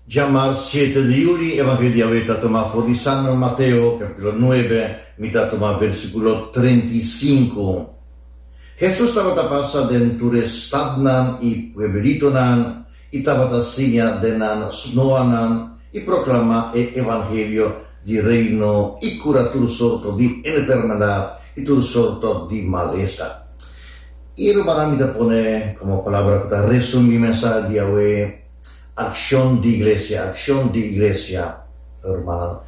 Djamars siete di juli, Evangelio di awe ta tuma for di San Mateo, capítulo nuebe, mi ta tuma versículo 35. Hesus tabata pasa den tur e stadnan i pueblitonan i tabata siña den nan snoanan i proklamá e evangelio di Reino i kura tur sorto di enfermedat i tur sorto di malesa. I rumannan mi ta pone komo palabra ku ta resumí mensahe di awe, Akshon di Iglesia, akshon di Iglesia. Rumannan,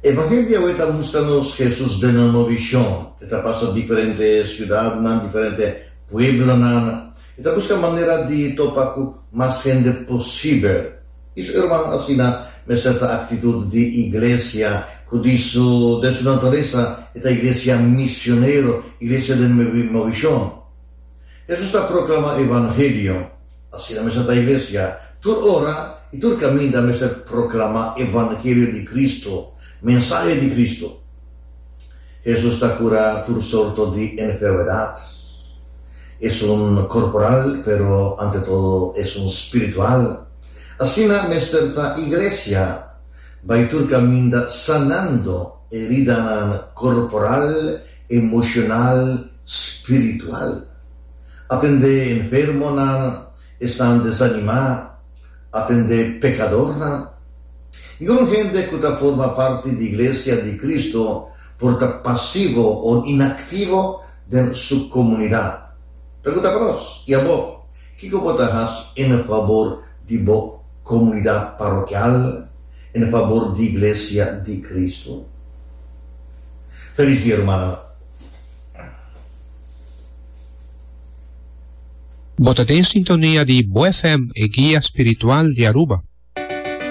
evangelio di awe ta mustra nos Hesus den un movishon. E ta pasa diferente siudatnan, diferente pueblonan. E ta buska manera di topa ku mas hende posibel. I su hermano asina mester ta aktitut di iglesia ku di su den su naturesa e ta iglesia misionero, iglesia den movishon. Hesus ta proklama evangelio, asina mester ta iglesia tur ora i tur kaminda mester proklama evangelio di Kristu, mensahe di Kristu. Hesus ta kura tur sorto di enfermedat, esun korporal pero ante todo esun spiritual. Asina mester ta iglesia, bai tur kaminda sanando heridanan korporal, emoshonal, spiritual. Atendé enfermonan, esnan desanimá, atendé pekadornan. Ningun hende ku ta forma parti di Iglesia di Kristu por ta pasivo o inaktivo den su komunidat. Pregunta pa nos, i abo, kiko bo ta hasi en fabor di bo komunidat parokial, en fabor di Iglesia di Kristu? Felis dia, rumannan. Bo ta den sintonia di Bo FM, e guia spiritual di Aruba.